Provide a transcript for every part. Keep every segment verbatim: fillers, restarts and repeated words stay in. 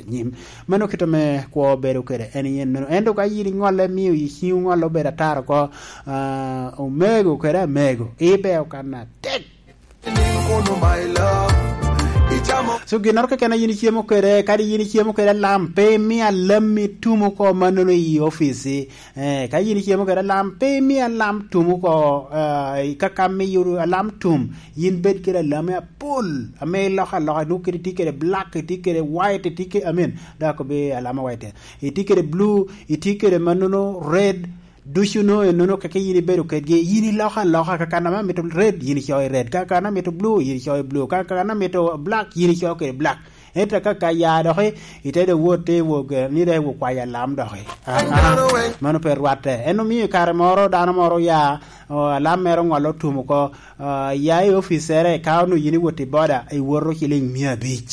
nyim. Mano kit ame kwo bedo kede en yen meno. Ento ka yin iŋolle, mio yi ciŋ oŋolle obedo atar oko, ah, omego kede amego, ibeo kan atek. So, ginnoro keken a yin icemo kede, kadi yin icemo kede alam, pe imi alam itumo oko mannono i ofici. Eh, ka yin icemo kede alam, pe imi alam tum oko, eh, i kaka miyo alam tum. Yin bed kede alame apol, ame iloko aloka, nwoŋo kede itye kede black, itye kede white, itye kede, I mean, dok akobi alama white. Itye kede blue, itye kede mannono red, ducu no enono keke yin ibedo kedgi, yin iloko aloka, ka kan ame amito red, yin icoyo i red, ka kan amito blue, yin icoyo i blue, ka kan amito black, yin icoyo kede black. Ento ka, ka ya doki, ite dok wot te wok, eh, ni dok iwok kwayo alam doki. Ah, ah, mano pe rwatte. En omio i kare moro dano moro ya, oh, alam mere oŋolo otum oko, ah, ya i oficere, ka onwoŋo yin iwot i boda, iwoto ciliŋ mia abic.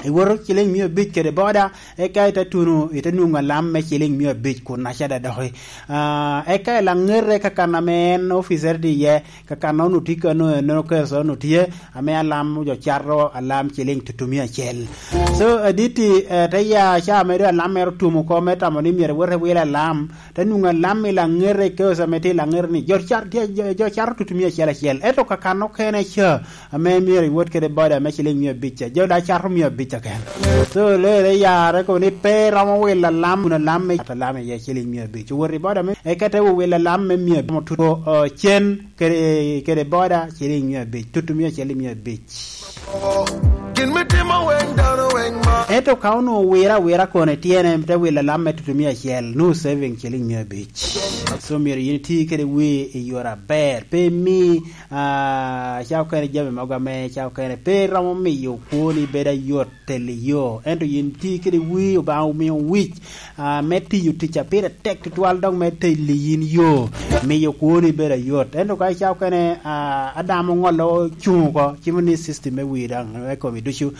Iwoto ciliŋ mia abic kede boda, eka ite tuno, ite nwoŋo alam me ciliŋ mia abic kun acada doki. Ah, eka i laŋete ka kan ame en oficere tye iye, ka kan onwoŋo tye kano, eno keca onwoŋo tye, ame alam jo cato alam ciliŋ tutumia acel. So, aditi, eh, te ya ca ame doŋ alam mere otum oko, me tamo ni myero iwot iwil alam, te nwoŋo alam i laŋete, keca ame tye i laŋete ni, jo cat-, tye, jo, jo cato tutumia acel acel. Ento ka kan okene ca, ame myero iwot kede boda me ciliŋ mia abic ca, jo daŋ cato mia abic keken. So, lere yarre kono ni pe romo wilo alam, kun alam me cato alam iye ciliŋ mia abic. Owot i boda me, eka te wil alam me mia abic, otuno, o, cen kede, kede boda ciliŋ mia abic, tutumia acel i mia abic. Gin me timo weng dano weng ma. Ento ka onwoŋo wira awira kono ityene, te wil alam me tutumia acel, nwoŋo saving ciliŋ mia abic. So, myero yin iti kede wi i yore aber. Pe imi, ah, ca okene jami mogo ame ca okene pe romo miyo kwoni bedo ayot telo yo. Ento yin ti kede wi, Obaŋa omio wic, ah, me tiyo tic a pire tek tutwal, dok me telo yin yo, miyo kwoni bedo ayot. Ento ka ca okene, ah, Adam oŋolo cuŋ oko, cimo ni system me wi daŋ, me komi ducu,